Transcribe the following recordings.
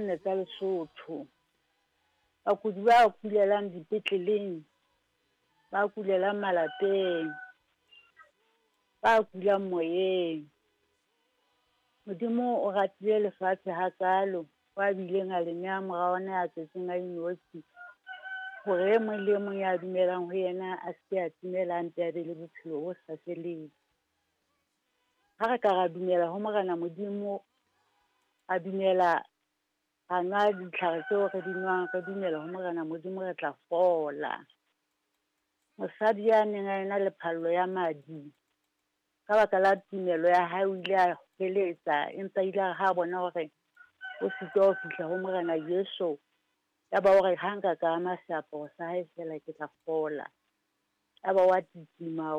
nne tsa Lesotho. Bakudi ba kulelang dipetleleng, ba kulelang malapeng, ba kulang moyeng. Modimo o ratile lefatshe hakaalo, o a bileng a le nea mora ona ya tswetsweng a inotshi, hore e mong le e mong ya dumelang ho yena a se ke a timela a mpe a be le bophelo bo sa feleng. Ha re ka ra dumela ho Morena Modimo, a dumela ra nwa ditlhare tseo re di nwang, re dumela ho Morena Modimo re tla fola. Mosadi ya neng a ena le phallo ya madi, ka baka la tumelo ya hae o ile a hweletsa, empa ile a ha bona hore o sitwa ho fihla ho Morena Jesu, ya ba hore ha nka ka ama seaparo sa hae feela ke tla fola. Ya ba wa titima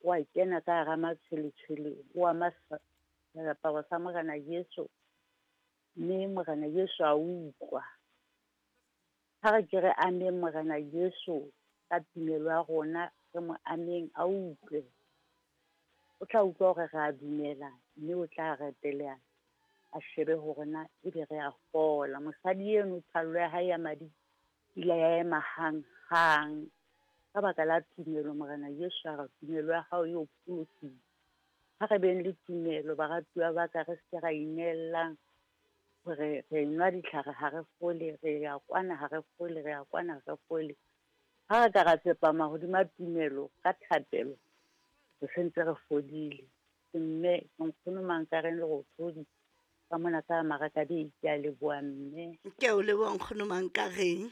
wa kena ka hara matshweletshwele, o ama seaparo sa Morena Jesu, mme Morena Jesu a utlwa. Ha re ke re ameng Morena Jesu ka tumelo ya rona, re mo ameng a utlwe. O tla utlwa hore re a dumela, mme o tla reteleha a shebe hore na ebe re a fola. Mosadi eno phallo ya hae ya madi ile ya ema hang-hang. Ka baka la tumelo Morena Jesu a re tumelo ya hao e o pholositse. Ha re beng le tumelo baratuwa ba ka, re se ke ra inellang hore re nwa ditlhare ha re fole, re ya kwana ha re fole, re ya kwana ha re fole. Ha re ka ra tsepama hodima tumelo ka thapelo, re sentse re fodile. Ke mme ke nkgono Mankareng Lerothodi ka mona ka Marakabei, ke a leboha mme. Ke a o leboha nkgono Mankareng.